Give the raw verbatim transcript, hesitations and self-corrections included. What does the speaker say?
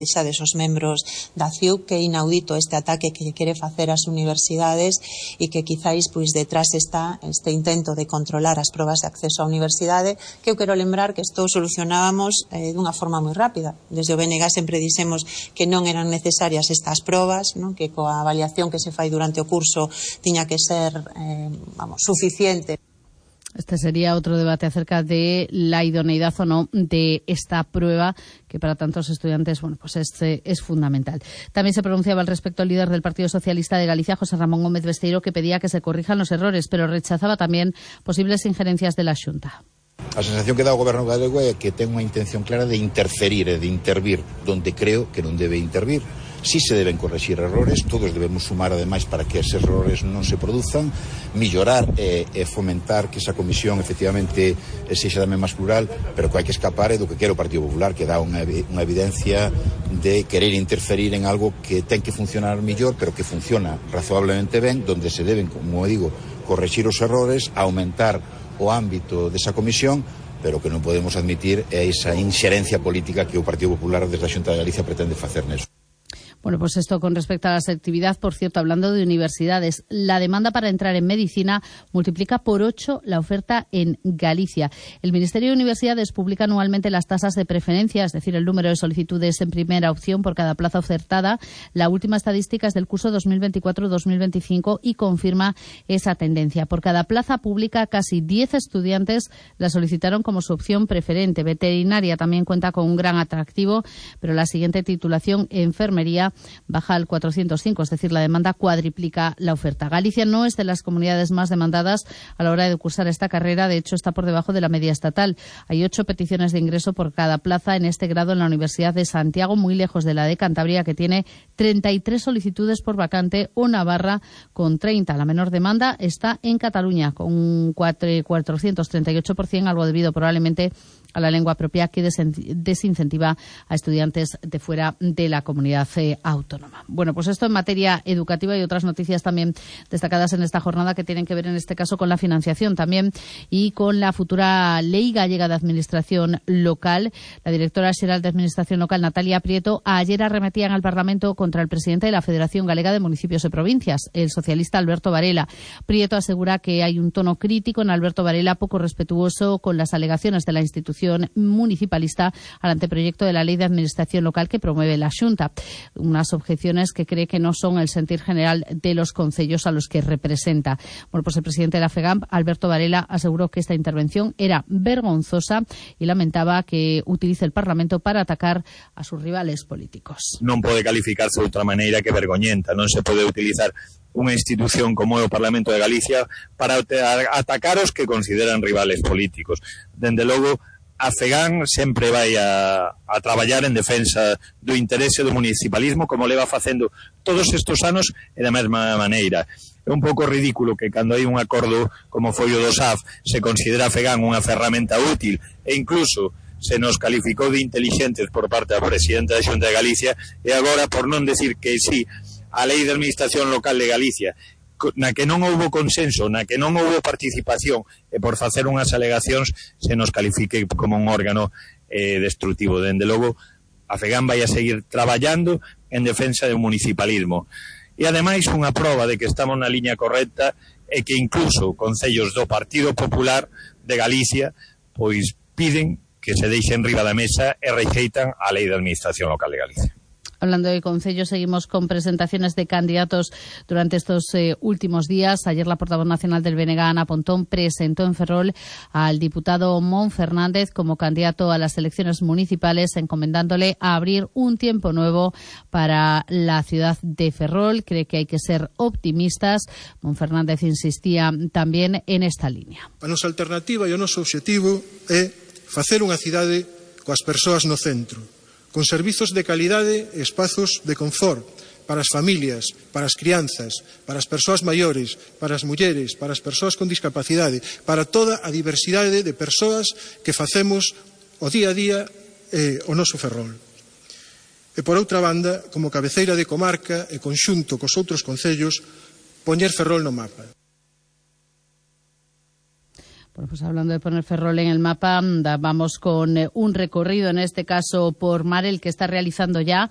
xa desos membros da C I U que é inaudito este ataque que quere facer ás universidades e que quizáis pois detrás está este intento de controlar as probas de acceso á universidade, que eu quero lembrar que isto solucionábamos eh, dunha forma moi rápida. Desde o B N G sempre dixemos que non eran necesarias estas probas, non? Que coa avaliación que se fai durante o curso tiña que ser eh, vamos, suficiente. Este sería otro debate acerca de la idoneidad o no de esta prueba, que para tantos estudiantes, bueno, pues es, es fundamental. También se pronunciaba al respecto el líder del Partido Socialista de Galicia, José Ramón Gómez Besteiro, que pedía que se corrijan los errores, pero rechazaba también posibles injerencias de la Xunta. A sensación que dá o Goberno galego é que ten unha intención clara de interferir e de intervir donde creo que non debe intervir. Si se deben corregir errores, todos debemos sumar ademais para que esos errores non se produzan, millorar e, e fomentar que esa comisión efectivamente sexa tamén máis plural, pero que hai que escapar é do que quere o Partido Popular, que dá unha, unha evidencia de querer interferir en algo que ten que funcionar mellor, pero que funciona razonablemente ben, donde se deben, como digo, corregir os errores, aumentar o ámbito desa comisión, pero que non podemos admitir é esa inxerencia política que o Partido Popular desde a Xunta de Galicia pretende facer neso. Bueno, pues esto con respecto a la selectividad, por cierto, hablando de universidades, la demanda para entrar en medicina multiplica por ocho la oferta en Galicia. El Ministerio de Universidades publica anualmente las tasas de preferencia, es decir, el número de solicitudes en primera opción por cada plaza ofertada. La última estadística es del curso dos mil veinticuatro dos mil veinticinco y confirma esa tendencia. Por cada plaza pública, casi diez estudiantes la solicitaron como su opción preferente. Veterinaria también cuenta con un gran atractivo, pero la siguiente titulación, enfermería, baja al cuatrocientos cinco, es decir, la demanda cuadriplica la oferta. Galicia no es de las comunidades más demandadas a la hora de cursar esta carrera, de hecho está por debajo de la media estatal. Hay ocho peticiones de ingreso por cada plaza en este grado en la Universidad de Santiago, muy lejos de la de Cantabria, que tiene treinta y tres solicitudes por vacante, o Navarra con treinta. La menor demanda está en Cataluña, con un cuatrocientos treinta y ocho por ciento, algo debido probablemente a la lengua propia, que desincentiva a estudiantes de fuera de la comunidad eh, autónoma. Bueno, pues esto en materia educativa y otras noticias también destacadas en esta jornada que tienen que ver en este caso con la financiación también y con la futura Ley Gallega de Administración Local. La directora xeral de Administración Local, Natalia Prieto, ayer arremetían al Parlamento contra el presidente de la Federación Galega de Municipios y Provincias, el socialista Alberto Varela. Prieto asegura que hay un tono crítico en Alberto Varela, poco respetuoso con las alegaciones de la institución municipalista al anteproyecto de la Ley de Administración Local que promueve la Xunta. Unas objeciones que cree que no son el sentir general de los concellos a los que representa. Bueno, pues el presidente de la FEGAMP, Alberto Varela, aseguró que esta intervención era vergonzosa y lamentaba que utilice el Parlamento para atacar a sus rivales políticos. Non pode calificarse de outra maneira que vergoñenta. Non se pode utilizar unha institución como é o Parlamento de Galicia para atacar os que consideran rivales políticos. Dende logo, a FEGAN sempre vai a, a traballar en defensa do interese do municipalismo, como leva facendo todos estes anos e da mesma maneira. É un pouco ridículo que cando hai un acordo como foi o do S A F se considera a FEGAN unha ferramenta útil e incluso se nos calificou de inteligentes por parte da presidenta da Xunta de Galicia e agora, por non decir que sí a Lei de Administración Local de Galicia, na que non houbo consenso, na que non houbo participación e por facer unhas alegacións se nos califique como un órgano eh, destructivo. Dende logo, a FEGAN vai a seguir traballando en defensa do municipalismo. E ademais unha proba de que estamos na liña correcta é que incluso concellos do Partido Popular de Galicia pois piden que se deixen riba da mesa e rexeitan a Lei de Administración Local de Galicia. Hablando de concellos, seguimos con presentaciones de candidatos durante estos eh, últimos días. Ayer la portavoz nacional del B N G, Ana Pontón, presentó en Ferrol al diputado Mon Fernández como candidato a las elecciones municipales, encomendándole a abrir un tiempo nuevo para la ciudad de Ferrol. Cree que hay que ser optimistas. Mon Fernández insistía también en esta línea. A nosa alternativa e o noso obxectivo é facer unha cidade coas persoas no centro, con servizos de calidade e espazos de confort para as familias, para as crianzas, para as persoas maiores, para as mulleres, para as persoas con discapacidade, para toda a diversidade de persoas que facemos o día a día eh, o noso Ferrol. E por outra banda, como cabeceira de comarca e conxunto cos outros concellos, poñer Ferrol no mapa. Bueno, pues hablando de poner Ferrol en el mapa, vamos con un recorrido, en este caso por mar, el que está realizando ya